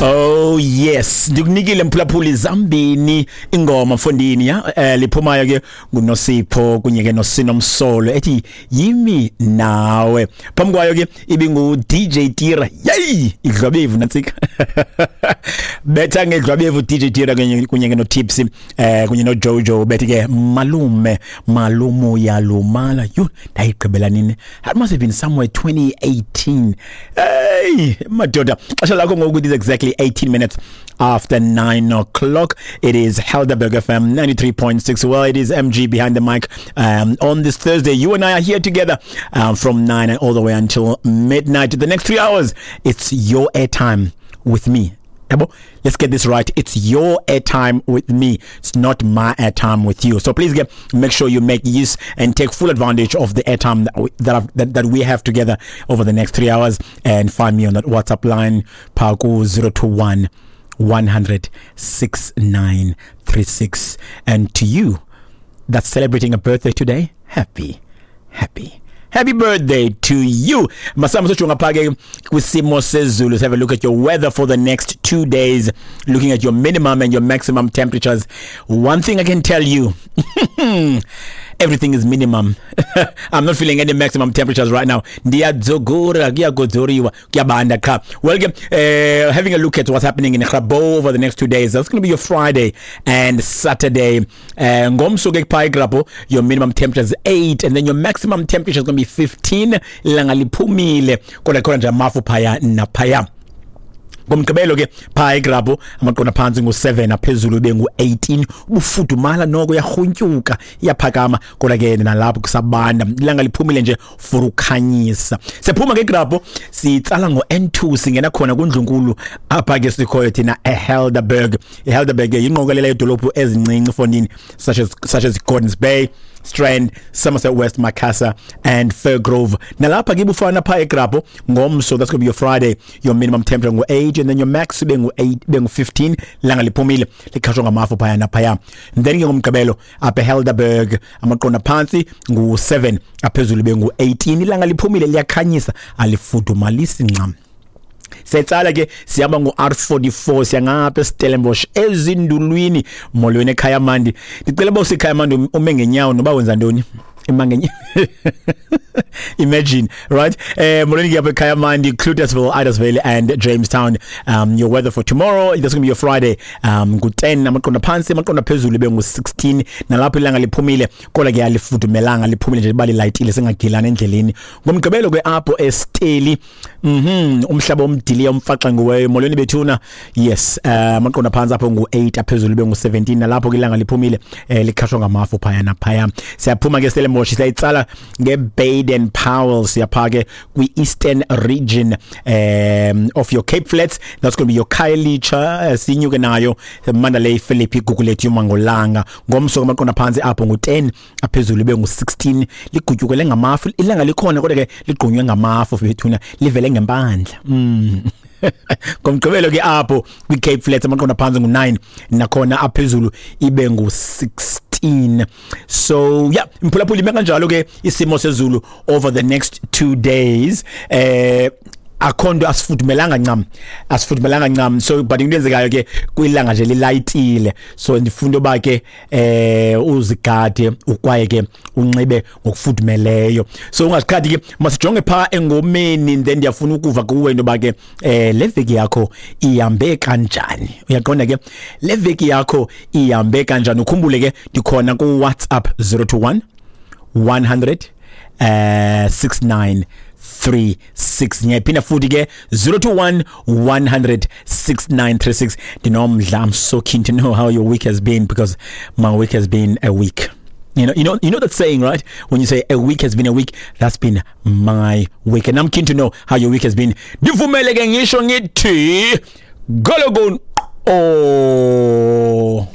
Oh yes, ndikunikile mphulaphuli zambini ingoma mfondini ya liphumayo ke nguNosipho kunye ke noSinomsolo ethi yimi nawe. Phambi kwayo ke ibingu DJ Tira. Yey, idlwabevu nantsika. Betha ngedlwabevu DJ Tira kunye ke noTipsy kunye noJojo bethi ke malume malumu yalumala. Yho, ndayigqibela nini? That must have been somewhere 2018. Hey, madoda. Xesha lakho ngoku is exactly 18 minutes after 9 o'clock. It is Helderberg FM 93.6. Well, it is MG behind the mic on this Thursday. You and I are here together from 9 and all the way until midnight. The next 3 hours, it's your airtime with me. Yabo? Let's get this right. It's your airtime with me. It's not my airtime with you. So please get make sure you make use and take full advantage of the airtime that we have together over the next 3 hours, and find me on that WhatsApp line, Paku 021 100 6936. And to you that's celebrating a birthday today, happy, happy, happy birthday to you. Masam sojonga pha ke kwisimo sezulu. Let's have a look at your weather for the next 2 days, looking at your minimum and your maximum temperatures. One thing I can tell you, everything is minimum. I'm not feeling any maximum temperatures right now. Ndiyadzogora, kuyagodzoriwa, kuyabanda qha. Well, ke, having a look at what's happening in Grabouw over the next 2 days. That's going to be your Friday and Saturday. Ngomso ke pha eGrabouw, your minimum temperature is 8 and then your maximum temperature is going to be 15. Ilanga liphumile, kodwa khona nje amafu phaya naphaya. Ngomgqibelo ke phaa eGrabouw, amaqondo phantsi ngu-7, aphezulu ibe ngu-18. Ubufudumala noko, yarhuntyuka, iyaphakama, kodwa ke nalapho kusabanda, ilanga liphumile nje for ukhanyisa. Siphuma ke eGrabouw, sitsala ngo-N2, singena khona kundlunkulu apha ke sikhoyo thina eHelderberg. IHelderberg yingqokelela yedolophu ezincinci fondini, such as Gordons Bay, Strand, Somerset West, Macassar and Firgrove. Nalapha ke bufana pha eGrabouw ngomso, that's going to be your Friday. Your minimum temperature ngu-8 and then your max ibe ngu-8, ibe ngu-15. Langa liphumile, likhashwa ngamafu phaya naphaya. And then ke ngomgqibelo apha eHelderberg, amaqondo phantsi ngu-7, aphezulu ibe ngu-18. Ilanga liphumile, liyakhanyisa, alifudumalisi ncam. Setsala ke sihamba ngo-R44, siyangapha eStellenbosch ezindulwini. Molweni ekhaya mandi. Ndicela uba usekhaya mandi ume ngenyawo noba wenza ntoni, ima ngenyawo. Imagine, right? Molweni ke apha ekhaya mandi, Cloetesville, Idasville and Jamestown. Your weather for tomorrow, that's going to be your Friday, ngu-10 amaqondo phantsi, amaqondo phezulu ibe ngu-16. Nalapho ilanga liphumile, kodwa ke alifudumelanga, liphumile nje liba lilayitile, singagilani endleleni. Ngomgqibelo ke apho eSteli, umhlaba omdiliya umfaxangiweyo, molweni bethuna. Yes, amaqondo phantsi apho ngu-8, aphezulu ibe ngu-17. Nalapho ke ilanga liphumile, likhashwa ngamafu phaya naphaya. Siyaphuma ke Stellenbosch, siyayitsala nge-Baden Powell, siyapha ke kwi-eastern region of your Cape Flats. That's going to be your Khayelitsha, sinyuke nayo Mandalay, Philippi, Gugulethu, Mangolanga. Ngomso amaqondo phantsi apho ngu-10, aphezulu ibe ngu-16. Ligutyukele ngamafu, ilanga likhona kodwa ke ligqunywe ngamafu bethuna, livele ngempandla. Ngomgqibelo ke apho kwi-Cape Flats, amaqondo phantsi ngu-9, nakhona aphezulu ibe ngu-16. So yeah, mphulaphuli, ime kanjalo ke isimo sezulu over the next 2 days. Akho nto, asifudumelanga ncam, asifudumelanga ncam. So but into eyenzekayo ke kwilanga nje lilayitile, so ndifuna uba ke uzigade, ukwaye ke unxibe ngokufudumeleyo, so ungaziqhathi ke. Masijonge phaa engomeni, then ndiyafuna ukuva kuwe into yoba ke le veki yakho ihambe kanjani. Uyaqonda ke, le veki yakho ihambe kanjani? Ukhumbule ke ndikhona ku-WhatsApp 021 100 6936. Ngiyaphinda futhi ke, 021 100 6936. Ndinomdla, I'm so keen to know how your week has been, because my week has been a week. You know that saying, right? When you say a week has been a week, that's been my week. And I'm keen to know how your week has been. Ndivumele ke ngisho ngithi gologon oh.